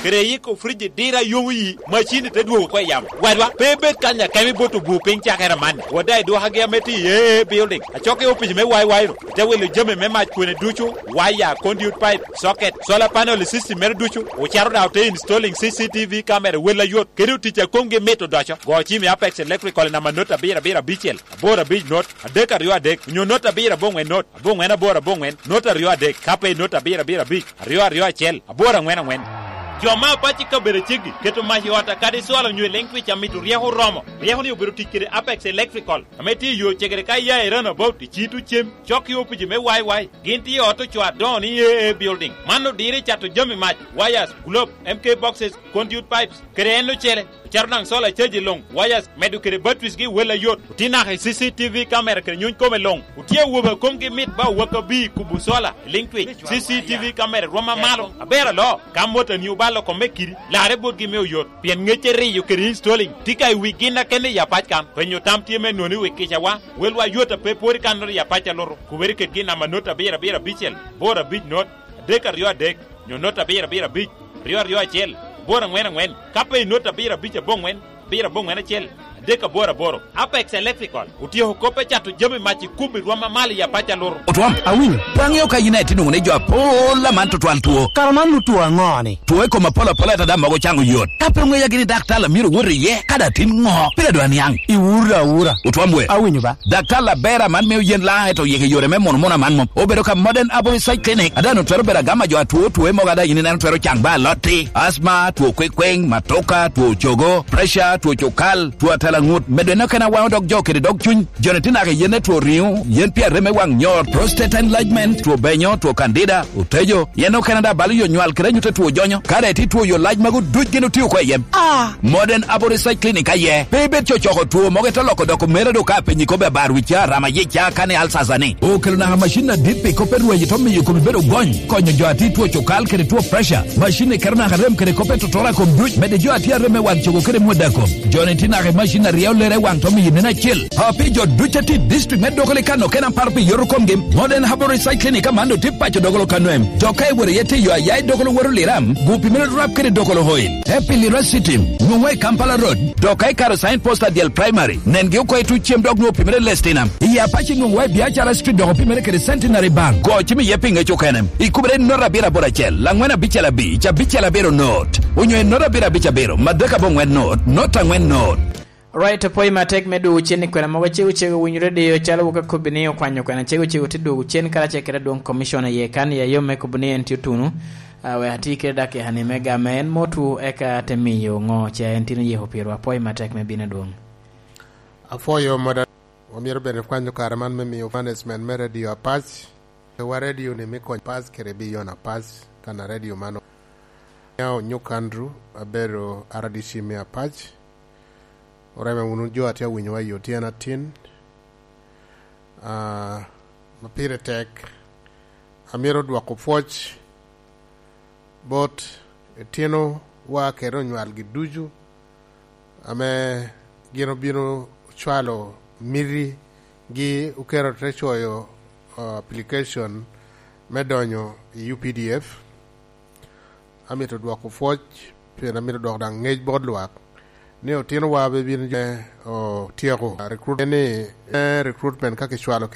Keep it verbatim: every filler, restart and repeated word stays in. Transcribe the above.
kede iko frij i diro a yomo yi, macini te dwogo oko i yamo. Wadwa, pe ibed kany akemo i bot obur piny cakere amanni. Wada idwokogi ame tye i A A Building, acok i opic me Y Y ru, ite wilo jami me mac kwene ducu, waya, conduit pipe, socket, solar panel i system mere ducu, ocato daŋ ote installing C C T V camera wel ayot, kede otic a komgi mit odoco. Go cim i Apex Electrical i namba not abiro abiro abicel, aboro abic not, adek aryo adek, onyo not abiro aboŋwen not, aboŋwen aboro aboŋwen, not aryo adek, ka pe i not abiro abiro abic, aryo aryo acel, aboro aŋwen aŋwen. Jo me Apac i kabedo aceggi keto mac i ot a kadi cwalo onyo i Lentwich amito ryeko oromo. Ryeko-ni obedo tic kede Apex Electrical, ame tye i yo cegere ka iya i Roundabout i Citu cem, cok i opici me Y Y. Gin tye i ot ocoo adoŋo ni A A Building. Man odiro i cato jami mac, wires, globe, M K boxes, conduit pipes, kede en ocele. Ocato daŋ solar caji luŋ, wires, medo kede batteries gi wel ayot. Otye naka i C C T V camera kede nyuny kome luŋ. Otye awobe a komgi mit ba owak abir i kubo solar, i Lentwich. C C T V camera rwom amalo, aber alo. Ka motoni obalo kome kidi, larre botgi me oyot. Pien ŋecce riyo kede installing tye ka i wi gin akene i Apac kan. Penyo tam tye me noni wi kicawa, welwa yot a pe pwod i kannoro i Apac alutu. Kubere kedgi i namba not abiro abiro abicel, boro abic not, adek aryo adek, nyo not abiro abiro abic, aryo aryo acel, boro aŋwen aŋwen, ka pe i not abiro abic aboŋwen, abiro aboŋwen acel, adek aboro aboro. Apex Electrical otyeko kop me cato jami mac i kubo i rwom amalo i Apac alutu. Otwom, awinyo. Pe aŋeo ka yin aye tye nwoŋo ni jo apol aman tutwal two. Kara man nu two aŋo-ni? Two i kom apol apol ata daŋ mogo caŋo yot. Ka pe oŋeya gini daktar a myero owot iye, ka daŋ tin ŋo? Pire dwa niaŋ. Iwura awura. Otwom we. Awinyo ba. Daktar aber aman mio yen laŋ eto yeke yore me mono mono aman mom. Obedo ka Modern Herbal Research Clinic, a daŋ otwero bedo agama jo atwo two mogo a daŋ yin ineno twero caŋ ba alotti, asma, two kwekweng, matoka, two cogo, pressure, two cukal, two atela ŋut, medo en okene awaŋo dog jo kede dog cuny. Joni tye naka i yen me two riŋo, yen pi arem me waŋ nyor, prostate enlargement, two benyo, two candida, otejo, yen okene daŋ balo yo nywal kede anyut a two jonyo. Ka daŋ itye two yo lac magu duc gin otio oko i yem. Ah! Modern Herbal Research Clinic aye. Pe ibed cocoko two mogo ite loko doko mere do ka apenyi kobbe abar wicca, rama yicca, kani alsasa ni. Okelo naka macin adit pi kop me rwenyo to miyo kome bedo gony, konyo jo a tye two cukal kede two pressure. Macin-ni keto naka rem kede kop me tuturo a kom duc, medo jo a tye arem me wang cogo kede mwada kom. Joni tye naka i macin a ryeo lere i wang to miyo nen acil. A pi jo duc a tye i district me Dokoli kan okene aparo pi yoto komgi, Modern Herbal Research Clinic aman otye paco Dokolo Kanwem. Dok ka iworo iye tye yo aya i Dokolo woro Liram, gu pi mere rap kede Dokolo Oil. Te pi Lira City, nwoŋwa i Kampala Road. Dok ka ikaro sign post a dyel primary, nengi oko i tuc cem dok nwoŋo opimere Lestina. I Apac nwoŋo wa i Biacara Street dok opimere kede Centenary Bank. Go cim iye pi ŋec okene. Ikubere i not abiro aboro acel, laŋwen abicel abic, abicel abiro not. Onyo i not abiro abic abiro, madek aboŋwen not, not aŋwen not. Right, opwoyo matek me dwogo cen i kwena mogo cego cego winyo radio calo wok akobbi ni okwanyo kwena cego cego te dwogo cen karacel kede adwoŋ commission aye kan i ayom me kobo ni en tye otuno. Ah, wek ati kede dakika ni me game en motu eka te miyo ŋo ce en tino yeko piro. Apwoyo matek me bino adwoŋ. Apwoyo mada. Omyero bene kwanyo kare man me miyo management me radio Apac. Wa radio ni me kony Apac kede biyon Apac, kan a radio mano. Ya onyuk Andrew, abedo R D C me Apac. Oreme wunu jo a tye awinyowa i otyen atin. Ah, ma pire tek, amito dwoko pwoc bot etinowa kede onywalgi ducu ame gin obino cwalo mitigi, oketo te coyo, ah, application me donyo i U P D F. Amito dwoko pwoc, pien amito dwoko daŋ ŋec bot lwak ni otinowa be bino je, otyeko recruit-, ni, eh, recruitment ka kicwalo kit